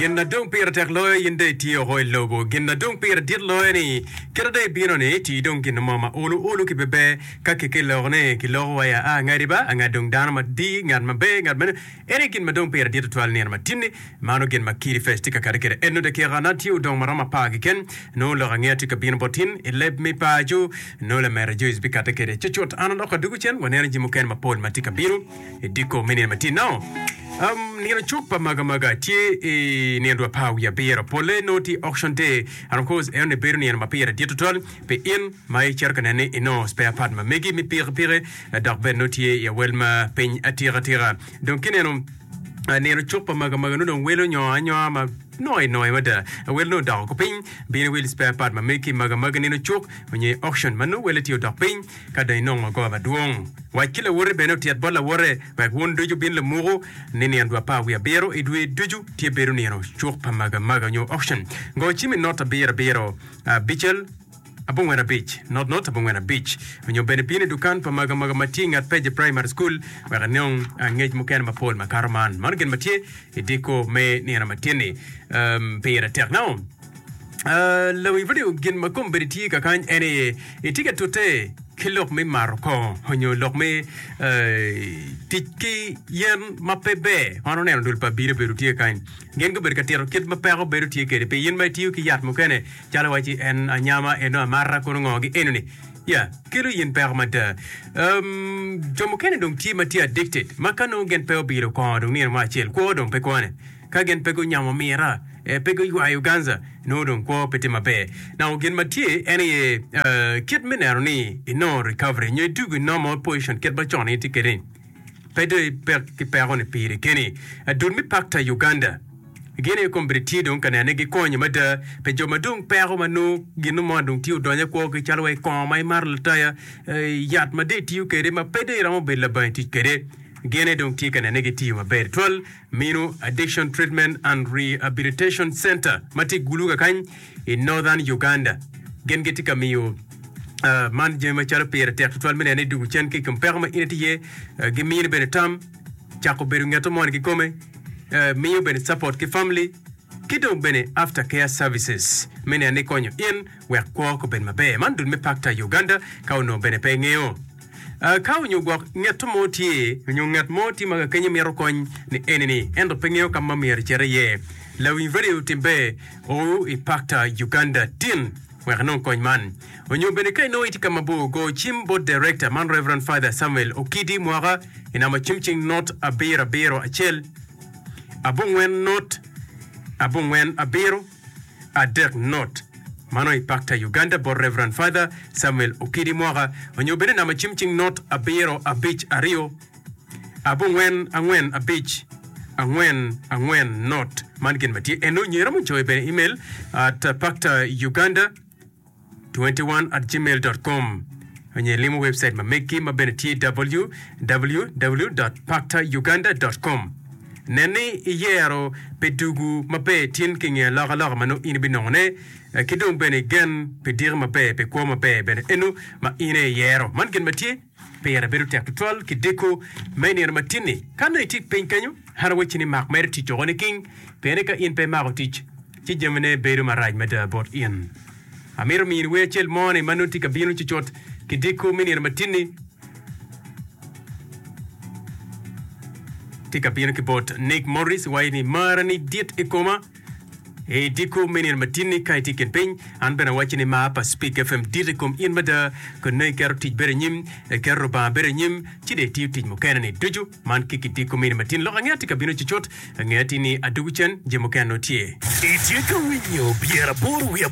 Gin na dong pire tek loyo in dong itye oko i lobo. Gin na dong pire dit loyo ni kite dong ibino ni tii dong gin mo ma olu olu ki beber ka ki kiloko ni kiloko wa ya a ngadi ba anga dong dano ma di ngat maber ngat meno en aye gin ma dong pire dit tutwal nino ma tinni mano gin ma Kidi Fest tye ka kati kede eno dakika na tye odong ma romo apar keken nongo lok angeya tye ka bino bot tin i leb me paco nongo lamera Joyce bikate kede cucut an adok adugu cen waneno jami mukene mapol ma tye ka bino I dyekor me nino ma tye nongo, nino cuk pa Magamaga tye i nino dwe apar wiye abiro. Polle nongo tye auction day and of course enoni bedo nino ma pire dit tutwal pi in ma icito ka neno ni inongo spare part ma megi me pikipiki dok bene nongo tye i awel ma piny atika tika. Dong kineno nino cuk pa Magamaga nongo dong welo nyongo anyonga ma noi noi mada. Wel nongo odoko ko piny. Bin iwil spare part ma megi ki Magamaga nino cuk onyo i auction ma nongo welle tye odok piny. Ka dong inongo goba madwong, wac ki lawoti bene otyet bot lawote, wek wun ducu wubin lamuku ni nino dwe apar wiye abiro i dwe ducu tye bedo nino cuk pa magamaga nyo auction. Go cim i not abiro abiro abicel abongwen abic not not abongwen abic nyo bene bin i dukan pa magamaga ma tye i nget Peje Primary School wek inong ngec mukene mapol makato man. Mano gin ma tye i diko me nino matin-ni. Pire tek nongo. Lawiny radio gin ma kombeddi tye kakany en aye itye ka tute ki lok me mato kongo nyo lok me tic ki yen ma pe ber. Wan oneno dul pa abili obedo tye kany gin gubedo ka tito kit ma peko bedo tye kwede pi in ma itiyo ki yat mukene calo waci en anyama eno amata kono ngo gi enoni ya kelo yin peko mada. Jo mukene dong tye ma tye addicted ma ka nongo gin pe obilo kongo dong nino mo acel kwo dong pe kwone. Ka gin pe gunyamo mira, pe guywayo ganza, nongo dong kwo pe tye maber. Nongo gin ma tye en aye kit me neno ni inongo recovery nyo idwogo i normal position kit ma con itye kwede-ni. Pe dong ipek ki peko-ni piri keni. Dul me Pakta Uganda gin aye kombeddi tye dong ka neno ni gikonyo mada pi jo ma dong peko ma nongo gin mo dong tye odonyo i kwogi calo wai kongo ma imato lataya, yat ma dong itiyo kwede ma pe dong iromo bedo labangi tic kwede. Gin aye dong tye ka neno ni gitiyo maber twal. Minu Addiction Treatment and Rehabilitation Centre ma tye i Gulu kakany i Northern Uganda. Gin gitye ka miyo man jami macalo pire tek tutwal me neno ni dwogo cen ki i kom peko ma in itye iye. Gimini bene tam, cako bedo ngeto moni kikome, miyo bene support ki family ki dong bene after care services me neno ni konyo in wek kwo obed maber. Man dul me Pakta Uganda ka onongo bene pe ingeyo. Ka onyo gwok ngetto mo tye, onyo ngat mo tye ma kakenye mito kony ni eni-ni, ento pe ngeyo ka ma myero ecit iye, lawiny radio tim ber o i Pakta Uganda tin wek inong kony man. Onyo bene ka inongo itye ka mabor, go cim bot Director man Rev. Father Samuel Okidi Mwaka i namba cim cing not abiro abiro acel abongwen not abongwen abiro. Adek not. Mano i Pakta Uganda bot Rev. Father Samuel Okidi Mwaka onyo bene namba cim cing not abiro abic aryo abongwen angwen abic angwen angwen not. Man gin ma tye eno nyo iromo coyo bene email at pakta uganda 21 at gmail dot com onyo ilimo website ma meggi ma bene tye www dot pakta uganda dot com. Nen ni iyero pi dugu maber tin ki nge alokaloka ma nongo in ibinongone ki dong bene igen pi diki maber pi kwo maber bene eno ma in aye iyero. Man gin ma tye pire bedo tek tutwal ki diko me nino matin-ni. Ka nongo itye piny kenyo, an awacci ni mak mere tic woko niking, pien ni ka in pe imako tic, ci jamine bedo marac mada bot in. Amito mini wer acel mo-ni ma nongo tye ka bino cucut ki diko me nino matin-ni. Tye ka bino ki bot Nick Morris waco ni, Marani dit i koma. I diko me nino matin-ni ka itye i kin piny, an bene awacci ni mar pa Speak FM dit i kom in mada. Kun nongo iketo tic bedo anyim, iketo Rubanga bedo anyim, ci dong itiyo tic mukene-ni ducu. Man ki kidiko me nino matin. Lok angeya tye ka bino cucut. Angeya tye ni adwogo cen, jami mukene nongo tye. Itye ka winyo pyeraboro wiye.